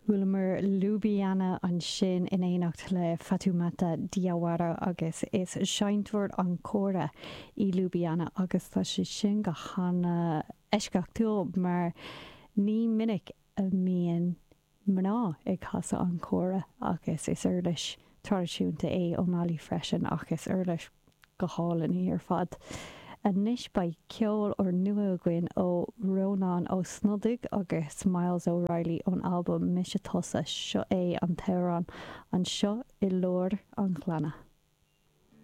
Chualamar Ljubljana ansin in éineacht le Fatoumata Diawara agus is seinnteoir an kora í Ljubljana agus tá sé sin go hana eisceachtúil mar ní minic a mbíonn mná ag casadh an kora agus is uirlis traidisiúnta é ó Mali freisin ach is uirlis go hálainn í ar fad. Anois beidh ceol úrnua againn ó Rónán Ó Snodaigh agus Myles O'Reilly ón albam Mise Tusa. Seo é an t-amhrán Anseo i Lár an Ghleanna.